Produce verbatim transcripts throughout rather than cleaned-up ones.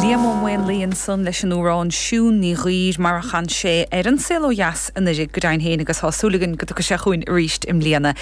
Liam Ó Maonlaí ansan leis an amhrán Siún Ní Ghaoir mar a chan sé ar An Saol Ó Dheas anuraidh go deimhin féin agus tá súil againn go dtiocfaidh sé chugainn arís i mbliana.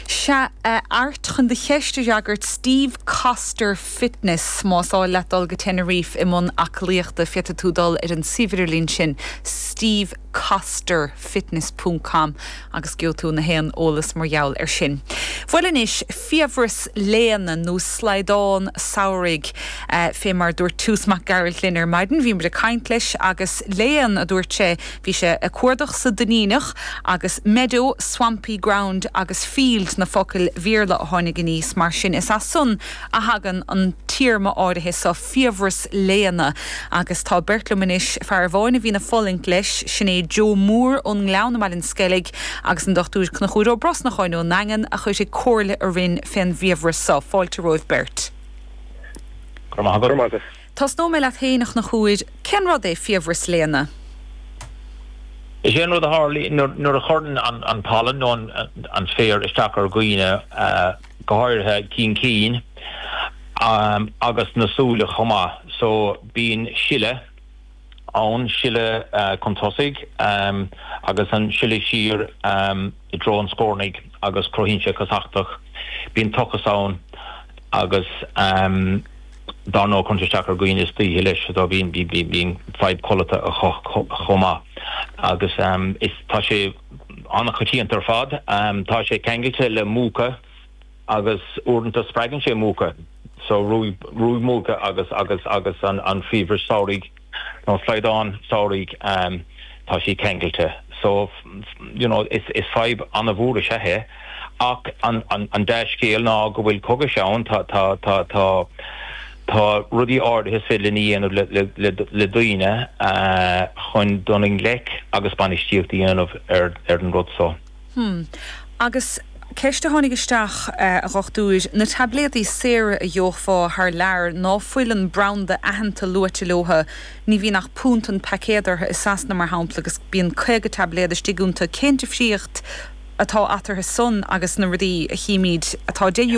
Sea Art chun do cheist a fhreagairt Steve Coster Fitness más áil leat dul go Tenerife i mbun aclaíochta féadfaidh tú dul ar an suíomh sin Steve Coster fitness.com agus gheobhaidh tú na haon eolas mar gheall ar sin. Bhuel anois fiabhras léana nó slaghdán samhraidh uh, fé mar dúirt Toose Mac Gearailt linn ar maidin, bhí ag caint leis agus léan a dúirt sé bhí sé ag cuardach sa Duinníneach agus meadow, swampy ground agus field na focail Bhéarla a tháinig aníos mar sin is as san a thagann an téarma áirithe seo fiabhras léana agus tá beirt liom anois fear amháin a bhíonn ag fulaingt leis sin é Joe Moore ón nGleann i mBaile an Sceilg agus an Dr Conchúr Ó Brosnacháin ón nDaingean a chuirfidh comhairle orainn fén bhfiabhras seo fáilte romhaibh beirt. Tosnóidh mé leat féin a Chonchúir cén rud é fiabhras léana? Is é an rud a tharlaíonn nuair a chuireann an, an palan nó an, an féar isteach ar dhaoine uh, go háirithe cinn cinn um, agus na súile chomh maith so bíonn sileadh ann sileadh uh, chun tosaigh um, agus an sileadh siar um, i dtreo an scornaigh agus cruthaíonn sé casachtach bíonn tochas ann agus um, dá nó chun isteach ar dhaoine istoíche leis do bíonn bíonn fadhb codlata chomh maith agus um, is tá sé an-choitianta ar fad um, tá sé ceangailte le múchadh agus uaireanta spreagann sé múchadh so ruaig múchadh agus agus agus an an fiabhras samhraidh nó slaghdán samhraidh um, tá sí ceangailte so you know is is fadhb an-mhór is ea é ach an an an dea-scéal ná go bhfuil cógais ann tá tá tá tá tá rudaí áirithe féidir linn a dhéanamh le, le, le, le daoine uh, chun dul i ngleic agus bainistíocht a dhéanamh ar ar an rud so. Hmm. Agus ceist a tháinig isteach uh, a dhochtúir na taibléadaí saora a gheofá thar lear ná fuil an branda aitheanta luaite leo ní bhíonn ach punt an paicéad orthu i Sasana mar shampla agus bíonn caoga taibléad istigh iontu cén difríocht atá eatarthu san agus na rudaí a chímid atá de